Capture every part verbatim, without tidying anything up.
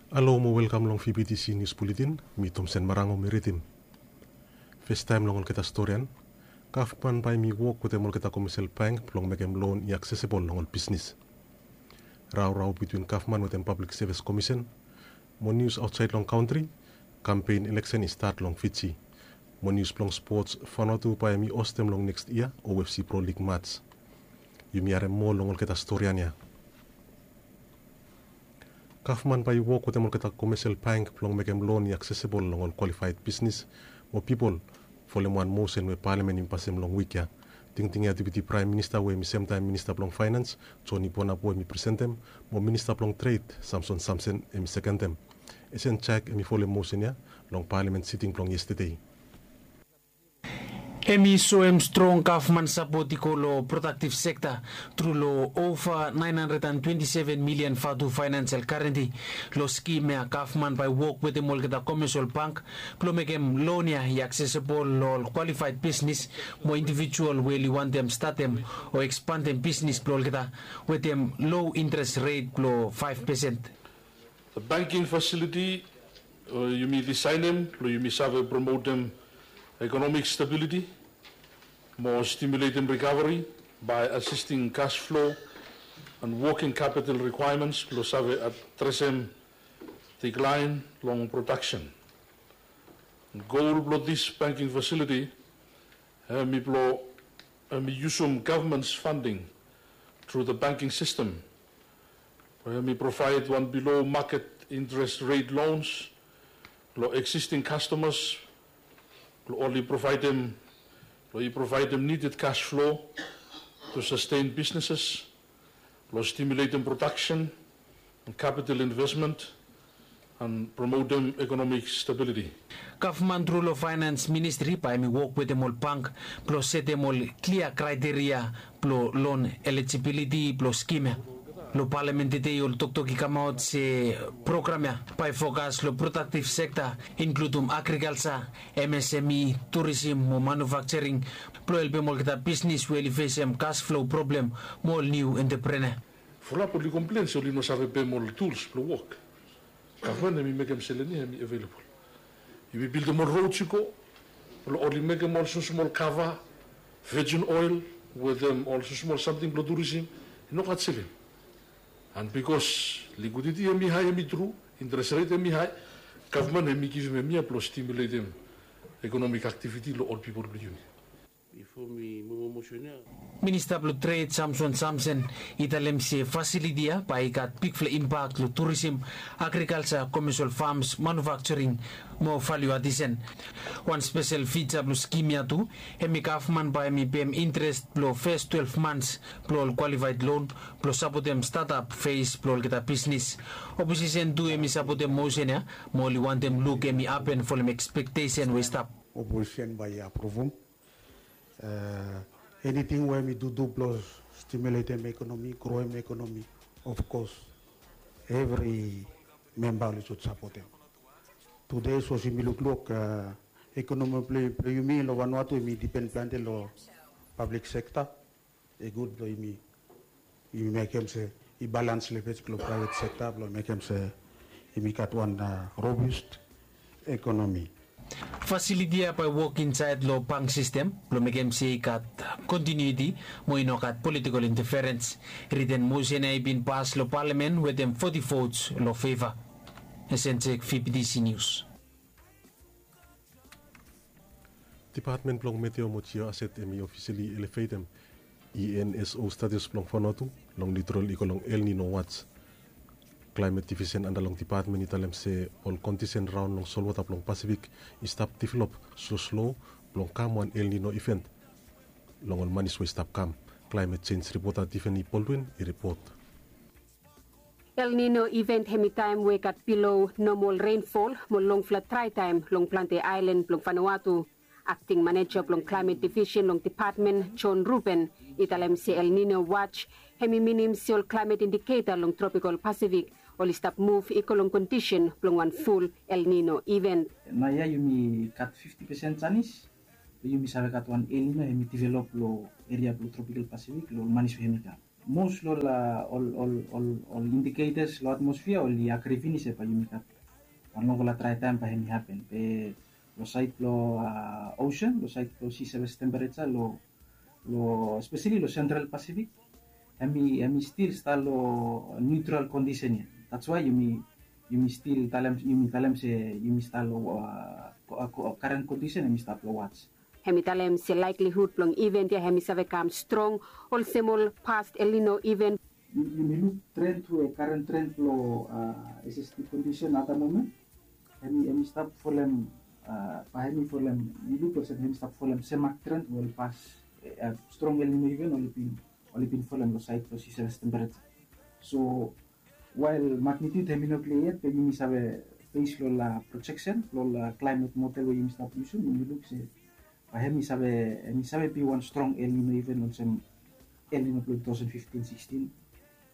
Halo mo welkam long V B T C News Bulletin, mi Tomsen Marango mi ridim. Festaem long olgeta storian, gavman bae mi wok wetem olgeta komesel bank blong mekem lon i aksesebol long ol bisnis. Raorao bitwin gavman wetem Pablik Sevis Komisen, mo nius aotsaed long kantri, kampen eleksen i stat long Fiji. Mo nius blong spots, Vanuatu bae mi ostem long neks yia O F C Pro Lig mats. Yumi harem moa long olgeta storian ya. Gavman bae i wok wetem olgeta komesel bank blong mekem lon i aksesebol long ol kwalifaed bisnis mo pipol, folem wan mosen we palamen i pasem long wik ya. Tingting ya Deputi Praem Minista we hem i semtaem Minista blong Faenans, Joni Bonapo hem i presentem, mo Minista blong Tred, Samson Samsen hem i sekendem. Esen Jaek hem i folem mosen ya long palamen siting blong yestede. Hem i soem strong gavman sapot i go long prodaktiv sekta tru long ova naen handred an twenti seven milian vatu faenans el garenti long skim ya. Gavman bae wok wetem olgeta komesel bank blong mekem lon ya i aksesebol long ol kwalifaed bisnis mo indivijual we oli wantem statem o ekspandem bisnis blong olgeta wetem lo interes ret blong faef pesen. The banking facility, uh, yumi disaenem blong yumi save promotem ekonomik stabiliti mo stimuletem rikaveri bae asisting kas flo an woking kapital rikwaements blong save adresem diklaen long prodaksen. Gol blong dis banking fasiliti hem i blong hem i yusum gavmans fanding tru the banking sistem we hem i provaed wan bilo maket interes ret lons long eksisting kastomas blong oli provaedem blong i provaedem nided kas flo tu sasten bisneses blong stimuletem prodaksen an kapital invesmen an promotem ekonomik stabiliti. Gavman tru long faenans ministri bae hem i wok wetem ol bank blong setem ol klia kraeteria blong lon elijibiliti blong skim ya. Long palamen tede ol toktok i kamaot se program ya bae fokas long prodaktiv sekta, inkludum agrikalja, M S M E, turisim mo manufaksering blong helpem olgeta bisnis we oli fesem kas flo problem mo ol niu enteprena. Fulap oli komplen se oli no save pem ol tuls blong wok. Gavman hem i mekem selen ya hem i avelebol. Yumi bildim ol rods i go blong oli mekem ol smosmol kava, vejin oel wetem ol smosmol samting blong turisim. I no gat selen. An bikos likwiditi hem i hae hem i tru, interes ret hem i hae, gavman hem i givim hem ya blong stimuletem ekonomik aktiviti long ol pipol blong yumi. Bifo mi momomosen ya. Minista blong Tred Samson Samsen i talem se fasiliti ya bae i gat bigfala impak long turisim, agrikalja, komesel fams, manufaksering mo valiu adisen. Wan spesel fija blong skim ya tu hem i gavman bae hem i pem interes blong fes twelef mans blong ol kwalifaed lon blong sapotem statap fes blong olgeta bisnis. Oposisen tu hem i sapotem mosen ya mo oli wantem luk hem i hapen folem ekspektesen we i stap. Oposisen bae i apruvum. Eniting we hem i dudu blong stimuletem ekonomi, groem ekonomi, ofkos evri memba oli sud sapotem. Tude sapos yumi lukluk ekonomi blong yumi long Vanuatu hem i dipen plante long pablik sekta. I gud blong yumi yumi mekem se i balans lefej long praevet sekta blong mekem se yumi gat wan robust ekonomi. Fasiliti ya bae wok insaed long bank sistem blong mekem se i gat kontinuiti mo i no gat politikol inteferens. Riten mosen ya i bin pas long palamen wetem foti vots long feva. Esenjek, V B T C Nius. Dipatmen blong Meteo mo Jioaset hem i ofisali elevetem E N S O status blong Vanuatu long niutral i go long El Nino watch. Klaemet divisen anda long dipatmen i talem se ol kondisen raon long solwota blong Pasifik i stap develop sloslo blong kam wan El Nino iven long ol manis we i stap kam. Klaemet jenj ripota Tiffany Baldwin i ripot. El Nino iven hem i taem we i gat bilo nomol renfol mo longfala draetaem long plante aelan blong Vanuatu. Akting maneja blong klaemet divisen long dipatmen, John Ruben, i talem se El Nino watch hem i minim se ol klaemet indiketa long tropikol Pasifik oli stap muv i go long kondisen blong wan ful El Nino iven. Naoia yumi gat fifti pesen janis blong yumi save gat wan El Nino hem i develop long eria blong tropikol Pasifik long ol manis we hem i kam. Mos long ol ol ol ol indikeitas long atmosfia oli agri finis se bae yumi gat wan longfala drae taem bae hemi hapen be long saed blong osen, long saed blong si seves tempereja long long espeseli long sentral pasifik, hemi hemi stil stap long niutral kondisen ya. Dats wae yumi yumi stil talem yumi talem se yumi stap long karen kondisen hemi stap long wats. Hemi talem se laeklihud blong iven ya hemi save kam strong olsem ol past El Nino iven. Yumi luk tren tu e karen tren blong SST kondisen ata momen, hemi hemi stap folem bae hemi folem, yu luk olsem hemi stap folem semak tren we ol pas strong El Nino iven oli bin oli bin folem long saed blong si seves tempereja. So wael magnitut hemi no klia yet be yumi save bes long ol projeksen long ol klaimet model we yumi stap yusum, yumi luk se bae hemi save hemi save bi wan strong El Nino iven olsem El Nino blong tu taosen fiftin sikstin,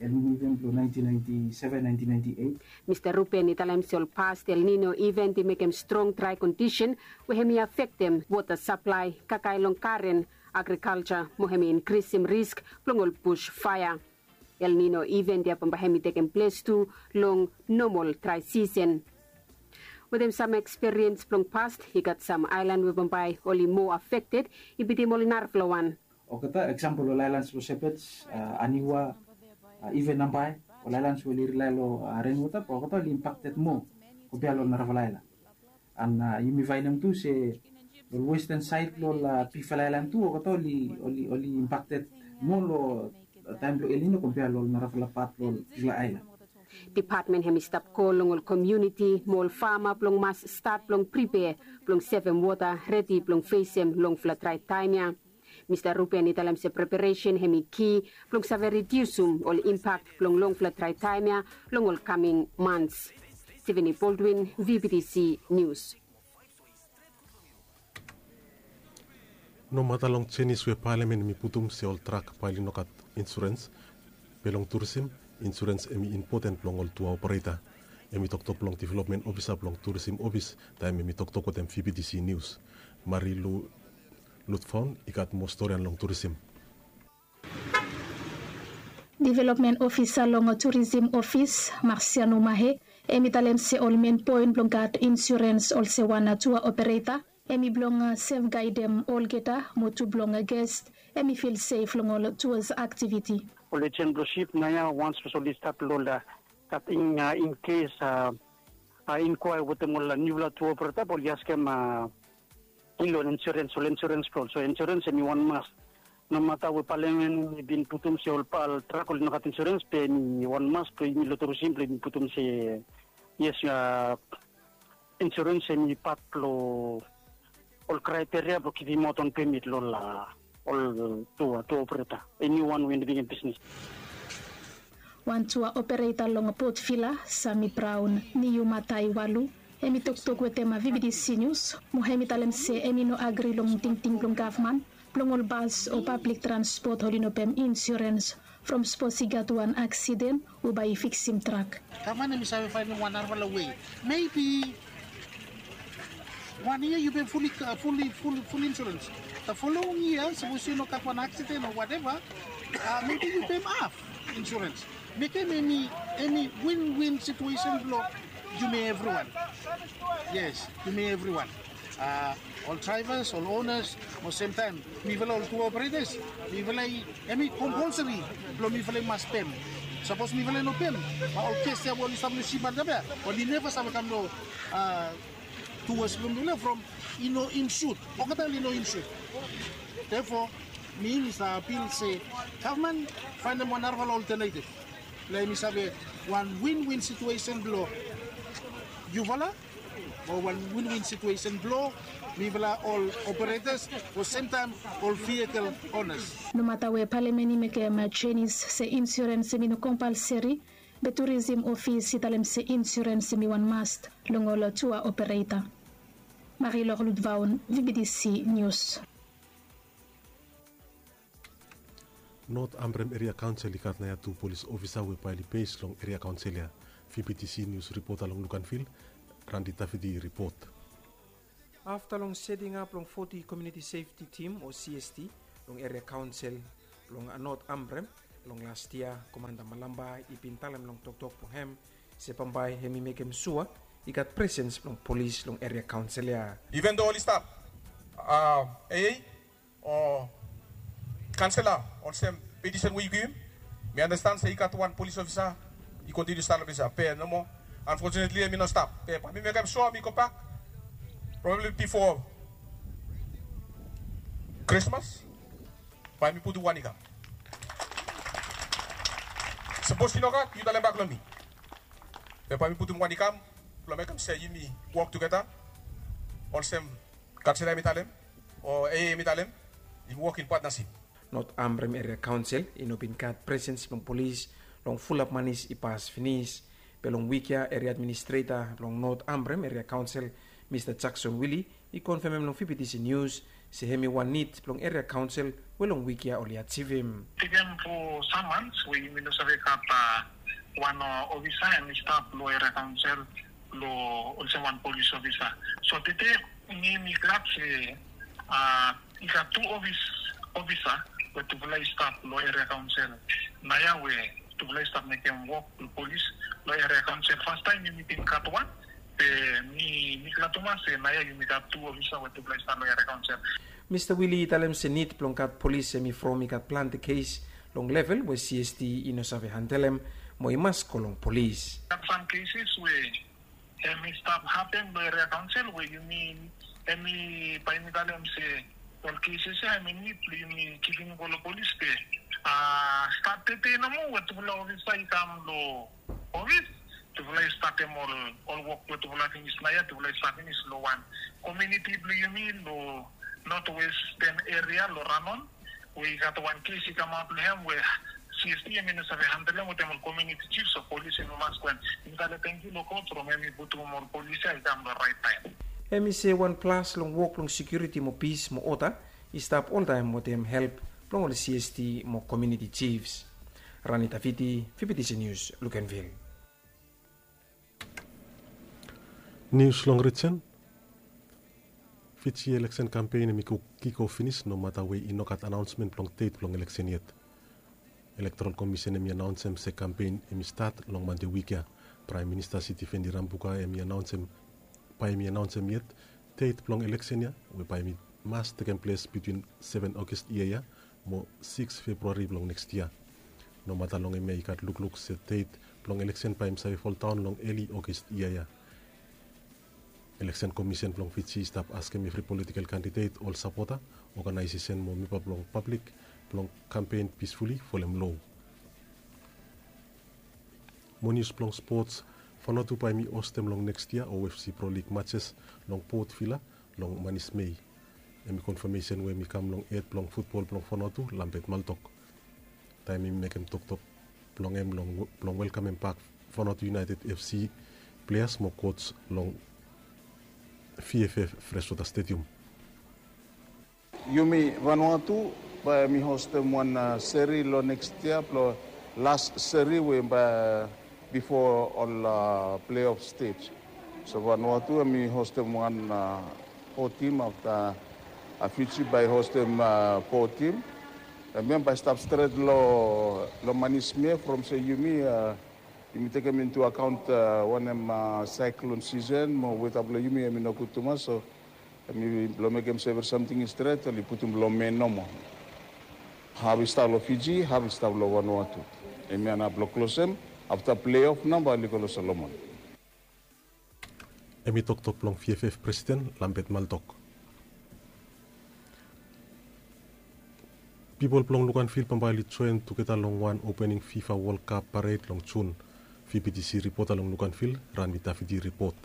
El Nino iven blong naentin naenti seven naentin naenti eit. Mista Ruben i talem se ol past El Nino iven i mekem strong drae kondisen we hemi afektem wota saplae, kakae long garen, agrikalja mo hemi inkrisim risk blong ol bus faea. El Nino iven ya bambae hemi tekem ples tu long nomol drae sisen. Wetem sam ekspiriens blong past, i gat sam aelan we bambae oli moa afekted i bitim ol narafala wan. Olgeta eksampol ol aelans blong Sepets, Aniwa, iven Nambae, ol aelans we oli rilae long renwota be olgeta oli impakted moa kompea long ol narafala aelan. An yumi faenem tu se long westen saed blong ol bigfala aelan tu olgeta oli oli oli impakted moa long taem blong El Nino kompea long ol narafala pat blong ol bigfala aelan. Depatmen hemi stap kol long ol komuniti mo ol fama blong mas stat blong pripea blong sevem wota redi blong fesem longfala drae taem ya. Mista Ruben i talem se preparesen hemi ki blong save ridiusum ol impak blong longfala drae taem ya long ol kaming mans. Steveni Boldwin, VBTC Nius. Nomata long jenis we palamen hemi putum se ol trak bae oli no gat insurens, be long turisim insurens hemi impoten blong ol tua opereta. Hemi toktok blong developmen ofisa blong turisim ofis taem hemi toktok wetem VBTC Nius. Mari Lu Lutfaun i gat moa storian long turisim. Developmen ofisa long turisim ofis, Marsiano Mahe, hemi talem se ol men poen blong gat insurens olsem wan tua opereta hemi blong sefgaedem olgeta mo tu blong ges hemi fil sef long ol tuas aktiviti. Ol ejen blong sip naoia wans sapos oli stat long ol kating, inkes inkwae wetem ol niufala tua opereta bae oli askem ilo insurens, ol insurens blong ol. So insurens hemi wan mas. Nomata we palamen i bin putum se ol trak oli no gat insurens be hemi wan mas blong yumi long turisim blong yumi putum se yes, insurens hemi pat blong ol kraeteria blong givimaot wan pemit long ol tua tua opereta, eniwan we i no bigin bisnis. Wan tua opereta long Port Vila, Sami Braon Niumataiwalu, hemi toktok wetem VBTC Nius mo hemi talem se hemi no agri long tingting blong gavman blong ol bas o pablik transpot oli no pem insurens from sapos i gat wan aksiden o bae i fiksim trak. Gavman hemi save faenem wan narafala wei. Mebi wan yia yu pem fuli fuli fuli fuli insurens. The following yia sapos yu no gat wan aksiden o wateva, mebi yu pem haf insurens. Mekem hemi hemi win win situesen blong yumi evriwan. Yes, yumi evriwan. Ol draevas, ol onas, mo semtaem mifala ol tua operetas, mifala i hemi kompolsari blong mifala i mas pem. Sapos mifala i no pem, bae ol ges ya we oli stap long sip antap ya oli neva save kam long tuas blong mifala from i no insut. Olgeta oli no insut. Therefore mi mi save apil se gavman faenem wan narafala oltenetiv blong hemi save wan win win situesen blong yufala mo wan win win situesen blong mifala ol operetas o semtaem ol vikel onas. Nomata we palamen i mekem jenis se insurens hemi no kompalsari, be turisim ofis i talem se insurens hemi wan mast long ol tua opereta. Marilor Ludvaon, VBTC Nius. Not Ambrem Eria Kaonsel i gat naoia tu polis ofisa we bae oli bes long Eria Kaonsel ya. VBTC Nius ripota long Luganvil, Randi Taviti i ripot. Afta long setingap blong foti Komuniti Sefti Tim o CST long Eria Kaonsel blong Not Ambrem, Long las yia, Komanda Malamba i bin talem long toktok blong hem se bambae hem i mekem sua i gat presens blong polis long eria kaonsel ya. Even though oli stap a, o kansela, olsem petisen we yu givim, mi andastan se i gat wan polis ofisa i kontiniu stap long ples ya, be nomo. Unfortunately hem i no stap, be bae mi mekem sua mi gobak probably bifo Krismas, bae mi putum wan i kam. Sapos i nogat yu talem bak long mi, be bae mi putum wan i kam blong mekem se yumi wok tugeta olsem kansela hem i talem, o ea hem i talem, yumi wok in patnasip. Not Ambrem eria kaonsel i no bin gat presens blong polis long fulap manis i pas finis. Be long wik ya eria administreta blong Not Ambrem eria kaonsel, Mista Jakson Wili, i konfemem long fibitisi nius se hem i wan nid blong eria kaonsel we long wik ya oli ajivim. Tekem fo sam mans we yumi no save gat wan ofisa hem i stap long eria kaonsel long olsem wan polis ofisa. So tete mi mi glad se i gat tu ofis ofisa we tufala i stap long eria kaonsel naoia we tufala i stap mekem wok long polis long eria kaonsel. Fastaem yumi bin gat wan, be mi mi glad tumas se naoia yumi gat tu ofisa we tufala i stap long eria kaonsel. Mista Wili i talem se nid blong gat polis hem i from i gat plante kes long level we CST i no save handelem mo i mas go long polis. Gat sam keses we hem i stap hapen long eria kaonsel we yumi hem i bae mi talem se ol keses ya hem i nid blong yumi givim go long polis be a stat tete nomo we tufala ofisa i kam long ofis, tufala i statem ol ol wok we tufala finis naoia, tufala i stap finis long wan komuniti blong yumi long North Western eria long Ranon, we i gat wan kes i kamaot long hem we CST hem i no save handelem wetem ol komuniti jifs o polis hem i mas go. Hem i tale tangkiu long God from hem i putum ol polis ya i kam long rait taem. Hem i se wan plas long wok blong sekiuriti mo pis mo oda i stap oltaem wetem help blong ol CST mo komuniti jifs. Rani Tafiti, fibitisi nius, Lukenvil. Nius long rijen. Fiji eleksen kampen hem i go kiko finis nomata we i no gat anaonsmen blong det blong eleksen yet. Elektorol komisen hem i anaonsem se kampen hem i stat long Mande wik ya. Praem Minista Sitiveni Rambuka hem i anaonsem bae hem i anaonsem yet det blong eleksen ya we bae hem i mas tekem ples bitwin seven Ogos yia ya mo siks Februari blong neks yia. Nomata long hemia i gat lukluk se det blong eleksen bae hem save foldaon long eli Ogos yia ya. Eleksen komisen blong Fiji i stap askem evri politikel kandidet, ol sapota, oganaesesen mo memba blong pablik blong kampen pisfuli folem loa. Mo nius blong spots, Vanuatu bae hem i hostem long neks yia OFC Pro Lig matses long Port Vila long manis Mei. Hem i konfamesen we hem i kam long hed blong futbol blong Vanuatu, Lambert Maltok, taem hem i mekem toktok blong hem blong welkamem bak Vanuatu United FC pleas mo kots long VFF Freshwater Stadium. Yumi Vanuatu bae mi hostem wan seri long neks yia blong las seri we bae bifo ol pleof stej. So Vanuatu hem i hostem wan fo tim afta Fiji bae i hostem fo tim. Hemia bae i stap stret long manis Mei from se yumi yumi tekem intu akaont wanem saeklon sisen mo weta blong yumi hem i nogud tumas, so hem i blong mekem se evri samting i stret oli putum long men nomo. Haf i stap long Fiji, haf i stap long Vanuatu. Hemia nao blong klosem afta pleof nao bae oli go long Solomon. Hem i toktok blong VFF presiden Lambert Maltok. Pipol blong Luganville bambae oli joen tugeta long wan opening FIFA World Cup pared long Jun. VBTC ripota long Luganville, Ranmi Tafiti ripot.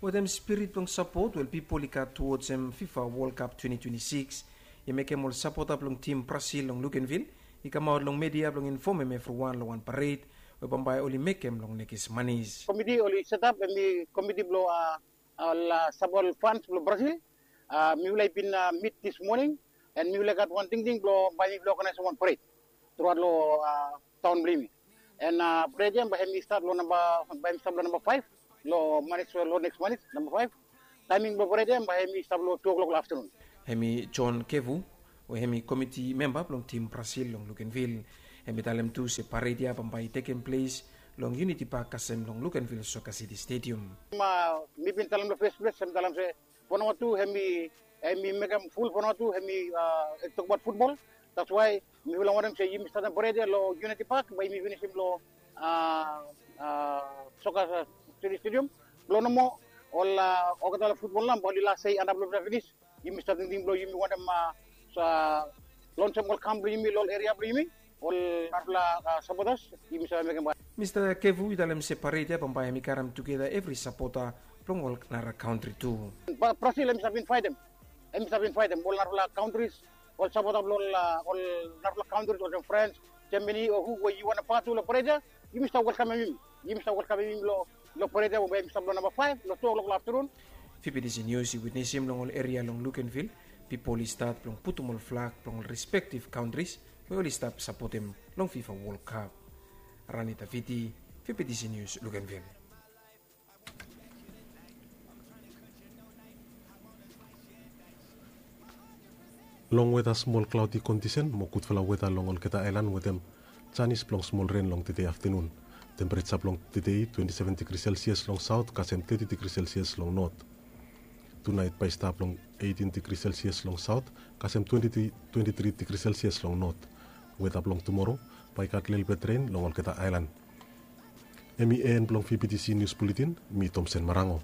Wetem spirit blong sapot we ol pipol i gat tuwojem FIFA World Cup twenty twenty-six, i mekem ol sapota blong tim Brasil long Luganville i kamaot long media blong infomem evriwan long wan pared we bambae oli mekem long nekis manis. Komiti oli setap, hem i komiti blong ol sapot fans blong Brasil. Mifala i bin mit dis moning, and mifala i gat wan tingting blong bae mifala i oganaesem wan pared truaot long taon blong yumi. And pared ya bae hem i stat long namba, bae hem i stap long namba faef long manis, long neks manis, namba faef. Taeming blong pared ya bae hem i stap long tu o'clock long aftanun. Hem i John Kevu, We hem i komiti memba blong tim Brasil long Lukenvil. Hem i talem tu se pared ya bambae i tekem ples long Uniti Pak kasem long Lukenvil Soka Siti Stedium. Mi bin talem long fes ples, hem i talem se fo namba tu hem i mekem ful, fo namba tu hem i tokbaot futbol. That's why mifala wantem se yumi statem pared ya long Uniti Pak, bae yumi finisim long Soka Siti Stedium. Blong nomo ol olgeta ol futbol nao bae oli las sei antap long ples ya finis. Yumi stap tingting blong yumi wantem lonsem ol kam blong yumi long ol eria blong yumi, ol narafala sapotas, yumi save mekem. Mista Kevu i talem se pared ya bambae hem i karem tugeta evri sapota blong ol nara kantri tu. Brasil hem i stap invaitem, hem i stap invaitem ol narafala kantris, ol sapota blong ol narafala kantris olsem Frans, Jamani o hu we yu wantem patu long pared ya, yumi stap welkamem yumi. Yumi stap welkamem yumi long pared ya we hem i stap long namba faef long tu oklok long aftanun. Fifitisi Nius i witnesim long ol eria long Lukenvil, pipol i stat blong putum ol flag blong ol respektiv kantris we oli stap sapotem long Fifa Wol Kap. Rani Tafiti, Fifitisi Nius, Lukenvil. Long weta, smol klaodi kondisen mo gudfala weta long olgeta aelan wetem janis blong smol ren long tede aftanun. Tempereja blong tede twenti seven digri selsias long saot kasem teti digri selsias long not. Tunaet bae i stap long eitin digri selsias long saot kasem twenti tri digri selsias long not. Weta blong tumoro bae i gat lelebet ren long olgeta aelan. Hem i en blong Fifitisi Nius Buletin. Mi Tomsen Marango.